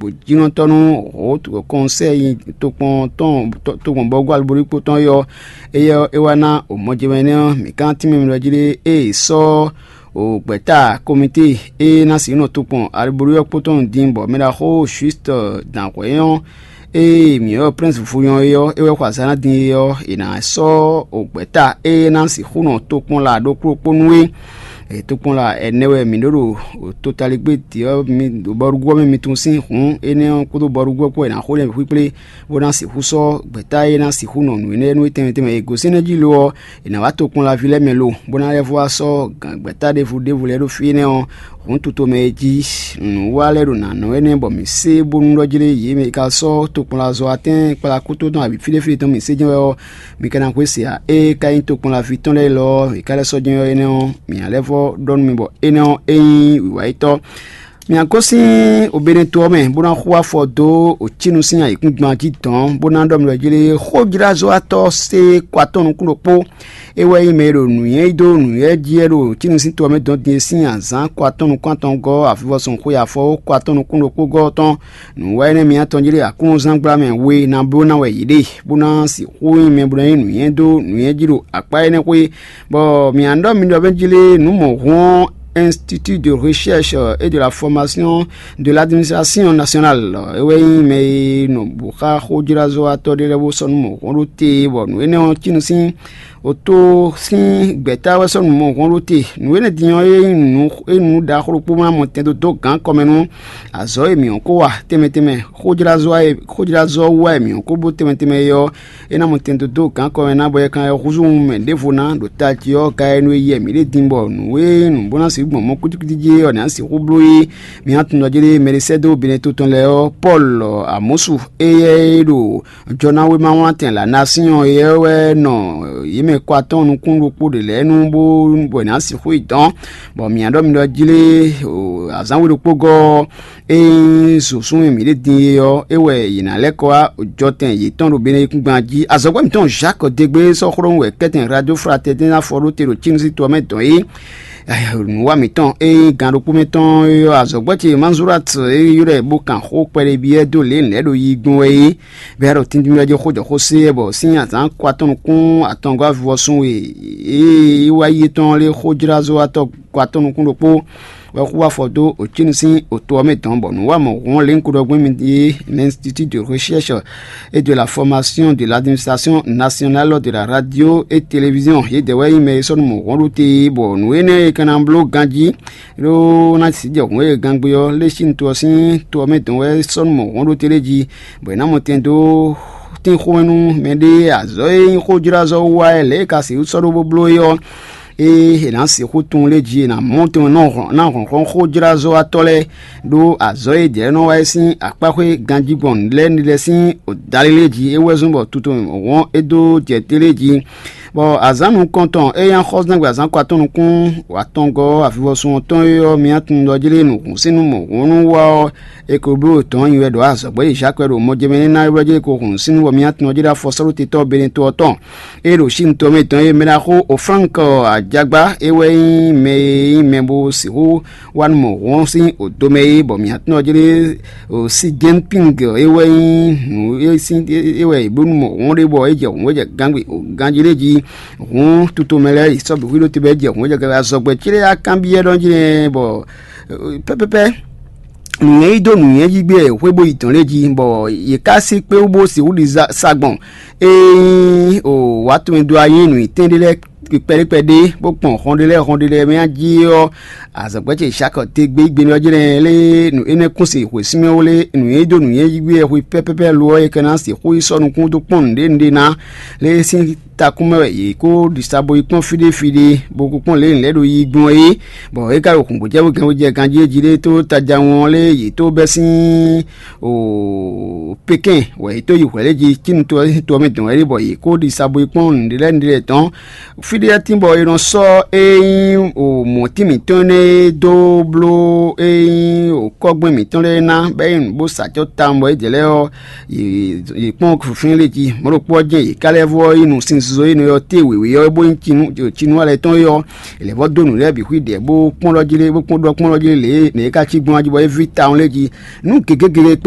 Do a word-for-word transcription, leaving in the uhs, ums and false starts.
bǒjínɔtɔ́ nú hǒ kɔnsɛ́yi tokpɔn tɔn tokpɔn bɔ́gú alubóɖíkpó tɔn é ɔ́, éyɛ́ ɔ́, é wá ná mɔjɛmɛ énɛ́ ɔ́, mǐ ka ná tínmɛ mi ɖɔ jí ɖé ée è sɔ́ gbɛ̌ta komite e ná sǐ nɔ tokpɔn alubóɖí ɔ́ kpó tɔn din, bɔ mɛ ɖaxó Juste Danhwɛ́ ɔ́, ée mǐ ylɔ́ Prince Vunyɔ́ é ɔ́, é wɛ xo azǎn ná din é ɔ́, è nǎ sɔ́ gbɛ̌ta e ná sixú nɔ tokpɔn la ɖokpó ɖokpó nú é. Tokpɔnla ɛnɛ wɛ mǐ ɖó ɖo totaligbé din ɔ́, mi ɖo bɔɖugbó ɔ́ mɛ mi tunwun sín hǔn énɛ́ ɔ́ kpódó bɔɖugbó ɔ́ kpó wɛ è nǎ xo lɛ́ xwíxwlé, bó ná sixú sɔ́ gbɛ̌ta e ná sixú nɔ nǔ énɛ́ nú é tɛnmɛ tɛnmɛ. È gosín nɛ́ jí lo ɔ́, è nǎ wá tokpɔnlaví lɛ́ɛ mɛ lo, bó ná lɛ́ vɔ́ wá sɔ́ gǎn gbɛ̌ta ɖěvo ɖěvo lɛ́ɛ ɖó fí énɛ́ ɔ́, hǔn tutomɛ e jí nǔ wa lɛ́ɛ ɖo nǎ nɔ énɛ́ bɔ mǐ sé bónú ɖɔ jí lé yě mɛ e ka sɔ́ tokpɔnlazɔ́watɛ́n kplakúto tɔn abǐ fí ɖé fí ɖé tɔn mǐ sé jɛ́n wɛ ɔ́, mi ka ná xwé se ǎ. Ée ka nyí tokpɔnlaví tɔn lɛ́ɛ élɔ́ ɔ́, è ka lɛ́ sɔ́ jɛ́n ɔ́ énɛ́ ɔ́, mǐ ná lɛ́ vɔ́ ɖɔ nú mi bɔ énɛ́ ɔ́ é nyí wǐwáyítɔ́. Mǐ ná gosín Obenɛto ɔ́ mɛ, bó ná xú afɔ dó Ocínu sín ayǐkúngban jí dɔ̌n, bó ná ɖɔ mì ɖɔ jí lé xójlázɔ́watɔ́ sé kɔ atɔ́ nukún ɖokpó. É wɛ nyí mɛ e ɖo nǔnywɛ́ yí dó nǔnywɛ́ jí wɛ ɖo Ocínu sín to ɔ́ mɛ dɔn din e sín azǎn kɔ atɔ́ nukún atɔngɔ́ avivɔsun xwe afɔ kɔ atɔ́ nukún ɖokpó gɔ́ ɔ́ tɔn. Nǔ wa énɛ́ mi atɔn jí ɖe Aklúnɔzán gbla mɛ we ná bló ná wɛ yě ɖe, bó ná sixú nyí mɛ bó ná nyí nǔnywɛ́ dó nǔnywɛ́ jí ɖo akpá énɛ́ xwé, bɔ mǐ ná ɖɔ mi ɖɔ mɛ jí lé nǔ mɔ̌hun ɔ́, Institut de Recherche et de la Formation de l'Administration Nationale, é wɛ nyí mɛ e nɔ bǔ xá xójlázɔ́watɔ́ ɖé lɛ́ɛ bó sɔ́ nú mɔ̌hun ɖó te, bɔ nǔ énɛ́ ɔ́ cí nú sín oto sín gbɛ̌ta wɛ sɔ́ nǔ mɔ̌hun ɖó te. Nǔ énɛ́ din ɔ́, é nyí nǔ é nǔ ɖaxó ɖokpó ma mɔ tɛn dó dó gǎn kɔmɛ nú azɔ̌ e mǐ ɔ́ ko wa tɛnmɛ tɛnmɛ, xójlázɔ́ e xójlázɔ́ wú wɛ mǐ ɔ́ ko bó tɛnmɛ tɛnmɛ é ɔ́, é ná mɔ tɛn dó dó gǎn kɔmɛ ná bɔ é kan húzú mɛ ɖěvo ná ɖo tají ɔ́, ka e nú e yɛ mǐ ɖe din bɔ nǔ e nǔ bó ná sixú gbɔn mɔ kwítíkwítí jí é ɔ́, ná sixú bló é. Mi ná tunwun ɖɔ jí ɖé mɛ ɖé sɛ́ dó Benɛto tɔn lɛ́ɛ ɔ́, Pɔ́lu Amɔ́su, éyɛ́ e ɖo jɔnáwéma wlán tɛn la ná sín ɔ́, éyɛ́ wɛ nɔ yě mɛ kɔ atɔ́ɔ́n nukún ɖokpó ɖě lɛ́ɛ nu bó bɔ è nǎ sixú yi dɔn, bɔ mǐ ná ɖɔ mi ɖɔ jí lé azǎn we ɖokpó gɔ́ ɔ́, ényí zǒsún e mǐ ɖe din é ɔ́, é wɛ yě ná lɛ́ kɔ wá jɔtɛn yětɔn ɖo Beneyíkúngban jí. Azɔ̌gbɛ́ mǐtɔn Jacques Degbé sɔ́ xlɔ́ nú wɛ kɛ́tɛn Radio Fraternelle ná fɔ ɖó te ɖo Cínu sín to ɔ́ mɛ dɔn é. Nǔwa mǐtɔn e nyí gan ɖokpó mɛ tɔn é ɔ́, azɔ̌gbɛ́ ce Manzurat e ylɔ́ ɛ bó kan xó kpɛɖé byɔ́ dó lě lɛ̌ ɖo yi gbɔn wɛ é, bɔ é ɖo tíntín jí xó jɔ xó se ɛ, bɔ sín azǎn kɔ atɔn nukún atɔngɔ́ avivɔsun e é wá yi tɔn lé xójlázɔ́watɔ́ kɔ atɔn nukún ɖokpó wɛ xú afɔ dó Ocínu sín oto ɔ́ mɛ dɔn, bɔ nǔ wa mɔ̌ hɔn lě un ko ɖɔ gbɛn mi é, l'Institut de Recherche et de la Formation de l'Administration Nationale de la Radio et Télévision, yědɛɛ wɛ nyí mɛ e sɔ́ nú mɔ̌ hɔn ɖó te, bɔ nǔ énɛ́ e ka ná bló ganjí ɖó ná sǐ jɛ hǔn e gangbe ɔ́ lé sín to ɔ́ sín to ɔ́ mɛ dɔn wɛ sɔ́ nú mɔ̌ hɔn ɖó te lé jí, bɔ è nǎ mɔ tɛn dó tínxɔ́mɛ nú mɛɖée azɔ̌ e nyí xójlázɔ́ wú wá wɛ lě e ka sixú sɔ́ ɖó bó bló é ɔ́, ée è nǎ sixú tunwun lé jí è nǎ mɔ tɔn ná hlɔ̌nhlɔ́n xójlázɔ́watɔ́ lɛ́ɛ ɖó azɔ̌ e jɛ̌ nɔ wa é sín akpáxwé ganjí gbɔn lɛ́ɛ ní lɛ́ɛ sín dalí lé jí é wɛ zɔ́n bɔ tutomɛ wɔ̌n é dó jɛ té lé jí. Bɔ azǎn nukɔntɔn e nyí axɔ́súzángbe azǎn kɔ atɔ́ nukún atɔngɔ́ avivɔsun ɔ́ tɔn é ɔ́, mi ná tunwun ɖɔ jí lé nǔhún sín nú mɔ̌hunú wa ɔ́, è ko bló dɔ̌n nyi wɛ ɖɔ azɔ̌gbɛ́ e Zaki wɛ ɖo mɔjɛmɛ ní ná é wlɛ́ jí é ko hun sín nú bɔ mi ná tunwun jí ɖó afɔsɔ́ɖótetɔ́ Benetɔ ɔ́ tɔn. É ɖo Sín to mɛ tɔn e mɛ ɖaxó Oflánk Ajagbá é wɛ nyí mɛ e nyí mɛ bó sixú wá nú mɔ̌hun sín odomɛ é, bɔ mǐ ná tunwun jí lé Xi Jinping é wɛ nyí nǔ é sín é wɛ è bló nú mɔ̌hun ɖé bɔ é jɛ hǔn é jɛ gangbe ganjí lé jí. Hǔn tutomɛ lɛ́ɛ yi sɔ́ bǐ xwíɖó te bɔ é jɛ hǔn é jɛ gangbe azɔ̌gbɛ́ cílé yá kanbyɔ́ ɖɔ jí nɛ́ bɔ pɛ́pɛ́pɛ́ nǔnywɛ́ yí dó nǔnywɛ́ jí gbé xwé bó yi dɔ̌n lé jí, bɔ yě ká sí kpé wú bó sixú ɖi sa gbɔn. Ényí o wǎ tɔn e dó ayé nǔnyitín ɖé lɛ́ɛ kpɛɖékpɛɖé, bó gbɔn hɔnɖélɛ́ hɔnɖélɛ́ mɛ jí ɔ́, azɔ̌gbɛ́ ce Zaki te gbé gbé ɔ́ jɛ́n lé nǔ énɛ́ kún se hwesínmɛ wú lé nǔnywɛ́ yí dó nǔnywɛ́ yí gbé wɛ hwe pɛ́pɛ́pɛ́ lo ɔ́, é ka ná sixú yi sɔ́ nukún dó kpɔ́n nǔɖé nǔɖé ná lé sín takún mɛ wɛ yě kó ɖi sa bo yi kpɔ́n fí ɖé fí ɖé, bó kó kpɔ́n lě lɛ̌ ɖo yi gbɔn é, bɔ é ka ɖo hǔngbójɛ́wú gɛ́nwú jɛ ganjí é jí ɖé tó tajawun ɔ́ lé yě tó bɛ́ sín o Pekɛ́n wɛ yě tó yi hwɛ̌ lɛ́ɛ jí cínu to ɔ́ sín to ɔ́ mɛ dɔn wɛ ɖé, bɔ yě kó ɖi sa bo yi kpɔ́n nǔɖé lɛ́ɛ nǔɖé lɛ́ɛ tɔn. Fí ɖé tín bɔ è nɔ sɔ́ é nyí o mɔ̌tín mǐtɔn énɛ́ e dó bló é nyí o kɔ́gbɛ́n mǐtɔn lɛ́ɛ ná, bɔ é nyí nǔ bó sa acɔ́ tawun bɔ é jɛ lɛ́ɛ ɔ́, yě kpɔ́n fínfín lé jí. Mɔ̌ ɖokpó ɔ́ jɛ́n yě ká lɛ́ vɔ́ yi nú sinzizɔ e nɔ ylɔ́ te wěwé ɔ́, bó nyí cinu cinu alɛ tɔn é ɔ́, è lɛ̌ vɔ́ dó nǔ lɛ́ɛ bǐ xwí ɖɛ̌ bó kpɔ́n ɖɔ jí lé bó kpɔ́n ɖɔ kpɔ́n ɖɔ jí lé lě e nǔ e ka cí gbɔn jí bɔ é ví tawun lé jí. Nǔ gěgé gěgé kpó